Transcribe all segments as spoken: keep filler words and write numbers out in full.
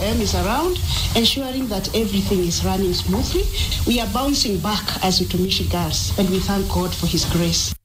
M is around, ensuring that everything is running smoothly. We are bouncing back as Utumishi girls, and we thank God for His grace.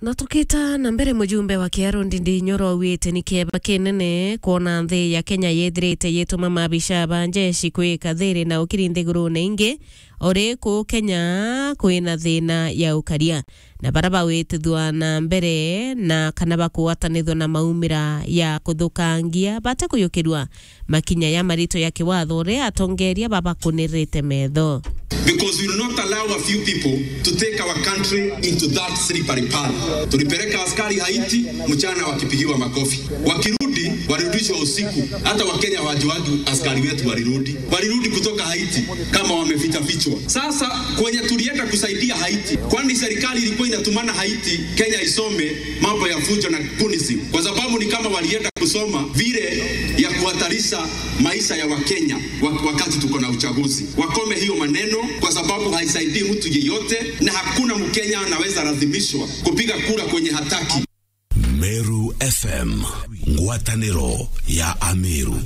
Na tukita na mbere, mujumbe wa Kiaru Ndindi Nyoro augite ni kieba kinene kwona nthi ya Kenya yithirite yituma maabisa ba njeshi kwika thiri na ukiri nthigurune ingi, ori kuu Kenya kwina thina ya ukaria, na bara bawitithua na mbere na kana bakugwatanithua na maumira ya kuthukangia bate kuyukirua makinya ya marito ya kiwatho uria atongeria babakunirite metho. Because we will not allow a few people to take our country into that slippery path. Tulipeleka askari Haiti mchana wakipigiwa makofi. Wakirudi, walirudishwa usiku. Hata Wakenya hawajuagi askari wetu walirudi. Walirudi kutoka Haiti kama wameficha fichwa. Sasa kwenye tulienda kusaidia Haiti, kwani serikali ilikuwa inatumana Haiti, Kenya isome mambo ya fujo na kunisim? Kwa sababu ni kama walienda kusoma vile ya kuhatarisha maisha ya Wakenya wa-, wakati tuko na uchaguzi. Wakome hiyo maneno, kwa sababu haisaidii mtu yeyote, na hakuna Mkenya anaweza lazimishwa kupiga kura kwenye hataki. Meru F M, ngwataniro ya Ameru.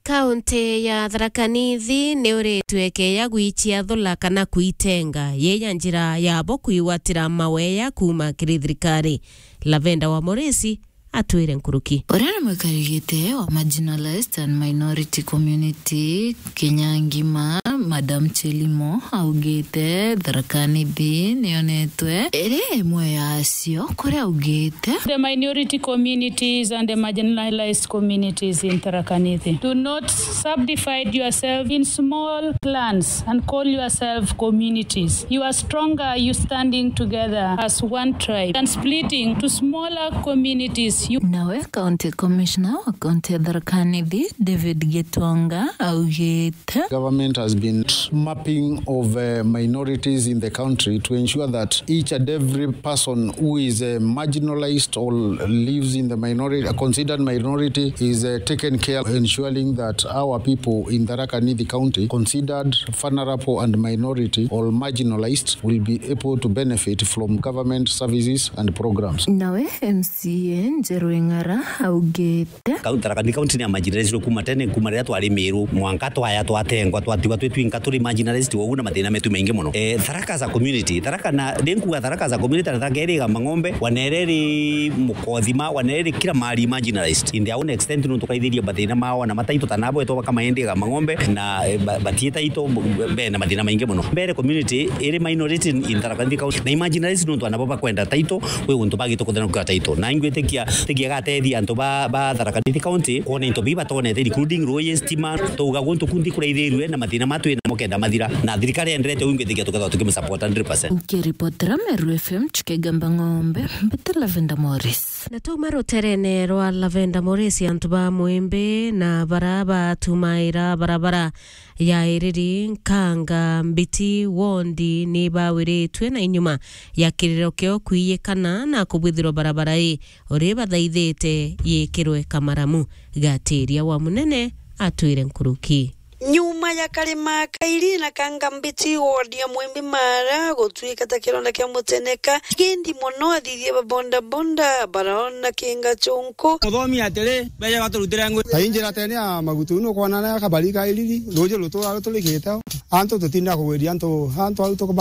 Kaunti ya Tharaka Nithi ni uritwe ikeeya gwichiathula kana kwitenga, yeya njira yabo kwigwatira maweya kuuma kiri thirikari. Lavenda wa Moresi atwire nkuruki. Uria ni mwikari giti wa marginalized and minority community Kenya ngima, Madam Chelimo, augite Tharaka Nithi niyonetwe iri imwe yacio, kuria augite. The minority communities and the marginalized communities in Tharaka Nithi, do not subdivide yourself in small clans and call yourself communities. You are stronger, you standing together as one tribe than splitting to smaller communities. You Nawe County Commissioner wa County ya Tharaka Nithi, David Gitonga, augite. Government has been mapping of, uh, minorities in the country to ensure that each and every person who is, uh, marginalized or lives in the minority, a considered minority, is, uh, taken care, ensuring that our people in Tharaka Nithi County, considered vulnerable and minority or marginalized, will be able to benefit from government services and programs. Nawe M C A Njeru Ing'ara augite. Kau Tharaka Nithi County ni ya marginalized kuma tene, kuma riria twari Meru, mwanka twaya twatengwa, twatigwa twi twinka turi marginalized, ugu na mathina metu maingi muno. Eh, Tharaka as a community, Tharaka na, ndi nkuga Tharaka as a community, na Tharaka iri Igamba Ng'ombe, Wanere iri Mukothima, Wanere iri kila mahali marginalized. In their own extent, nuntu kaithirie mathina mao, na mataito ta nabo etwa bakamaendi Igamba Ng'ombe, na, eh, ba-, batie taito, be na mathina maingi muno. Mbere community iri minority in, in Tharaka Nithi County, na i marginalized nuntu anabo bakwenda taito, kwi guntu bagite kuthana kwa taito. Na ingwitikia, tikia gatethia antu ba, ba Tharaka Nithi County, kwona into biba tonete, including rui, stima, tuga guntu kunthi kuraithirue na mathina matu na mukenda mathira. Na thirikari enderete, ingwitikia tukethwa tukimsupport hundred percent. Nkiripotera Meru F M, Chikegamba Ng'ombe, mbete Lavenda Morris. Na twauma ruterene rwa Lavenda Morris, antu ba Mwimbi na bara batumaira barabara ya Iriri, Nkanga, Mbiti, Wondi ni bawiritue na inyuma ya kiriro kio kwiyikana na kubwithirwa barabara ii uri bathaithite yikirwe kamaramu. Gatiria wa Munene atwire nkuruki. Nyuma ya karima kairi na kanga mbiti wodi ya Mwimbi Mara gutwika ta kironda kia muteneka, kindi mono athithia ba bonda bonda baraona kinga chunku. Muthomi atiri, beje baturutire ngui. Ta injira tene ya magutu, nukwona na kabari ka Iriri, ruji rutura ruturikite. Antu tutinda kugwiria antu, antu au tukubaka.